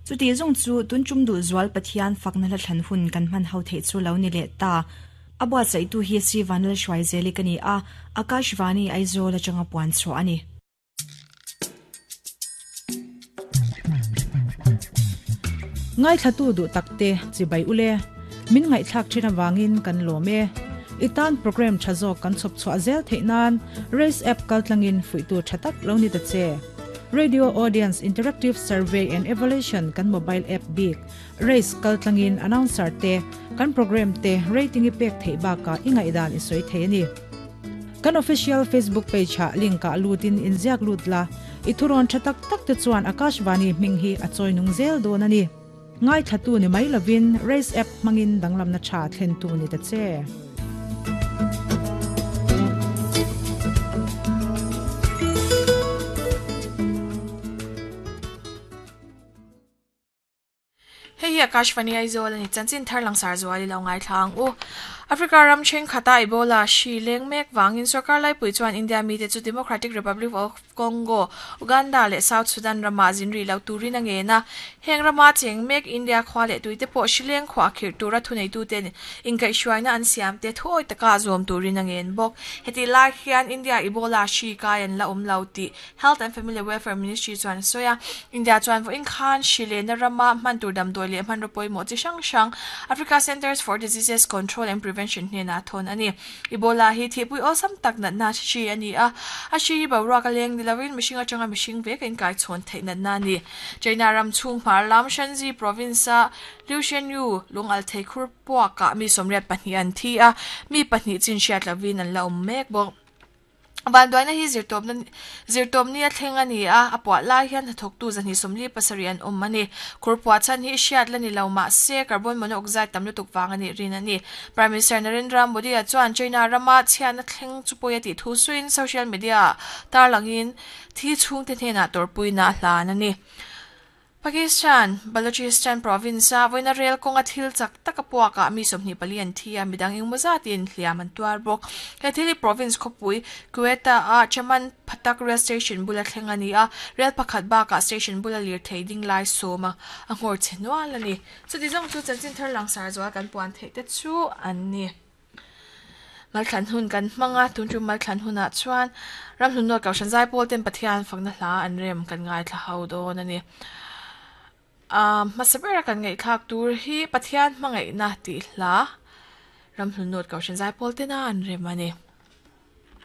Chuti zawng chu tun tum duh zual Pathian fakna hla thlan hun kan hman ho theih chu lo ni leh ta. A buatsaihtu hi Sri Vanlalhruaizeli ka ni a, Akashvani Aizawl atanga puan chhuah a ni. Ngaithlatu duh takte chibai ule, min ngaihthlak thin avangin kan lawm e. I tan program tha zawk kan chhawp chhuah zel theih nan Race app kaltlangin fuihtu tha tak lo ni ta che. Radio Audience Interactive Survey and Evaluation kan mobile app bik Race kaltlangin announcer te kan program te rating i pek theih bakah i ngaihdan i sawi thei a ni. Kan official Facebook page ah link ah lutin inziak lut la, i thurawn tha tak tak te chuan Akashvani hming hi a chawi nung zel dawn a ni. Ngaithlatu ni mai lovin Race app hmangin danglamna tha thlentu ni ta che. Hei hi Akashvani Aizawl a ni. Chanchin thar langsar zual i lo ngaithla ang u. Africa ram thenkhat a Ebola hri leng mek vangin sorkar laipui chuan India mite chu Democratic Republic of Congo, Uganda leh South Sudan ramah zin rih lo turin a ngen a. Heng rama cheng mek India khua leh tuite pawh hri leng khuah khirh tura thuneituten inkaihhruaina an siam te thuawi taka zawm turin a ngen bawk. Hetih lai hian India Ebola hri kai an la awm lo tih Health and Family Welfare Ministry chuan a sawi a, India chuan vawiin khan hri lehna rama hman tur damdawi leh hmanraw pawimawh chi hrang hrang Africa Centres for Diseases Control and Prevention hnenah a thawn a ni. Ebola hi thihpui awlsam tak natna hri a ni a, a hri hi boruak a leng ni lovin mihring atanga mihring vek a inkaichhawn theih natna a ni. China ram chhung hmar lam Shanxi province-a Liu Shenyu lungalthei khur puakah mi 82 an thi a, mi pahnih chin hriat lovin an la awm mek bawk. Vanduaina hi zirtawpna zirtawpni a thleng a ni a, a puah lai hian hnathawktu 247 an awm a ni. Khur puah chhan hi hriat la ni lo mah se carbon monoxide tam lutuk vang a nih rin a ni. Prime Minister Narendra Modi-a chuan China rama chhiatna thleng chu pawi a tih thu suiin social media-ah tarlangin thi chhungte hnenah tawrhpuina a hlan a ni. Pakistan, Balochistan province-a vawiina rel kawnga thil chak taka puakah mi 24 an thi a, midang engmaw zatin hliam an tuar bawk. He thil hi province khawpui Quetta-a Chaman Phatak rail station bula thleng a ni a, rel pakhat bakah station bula lirthei ding lai sawm a nghawr che nual a ni. Chuti zawng chu chanchin thar langsar zual kan puan theih te chu an ni. Malthlan hun kan hmang a, tun chu Malthlan hunah chuan Ramhlun Nawt Kohhran Zaipawl ten Pathian fakna hla an rem kan ngaithla ho dawn a ni. Aaa hmasa bera kan ngaihthlak tur hi Pathian hmangaihna tih hla Ramhlun Nawt Kohhran Zaipawl tena an rem a ni.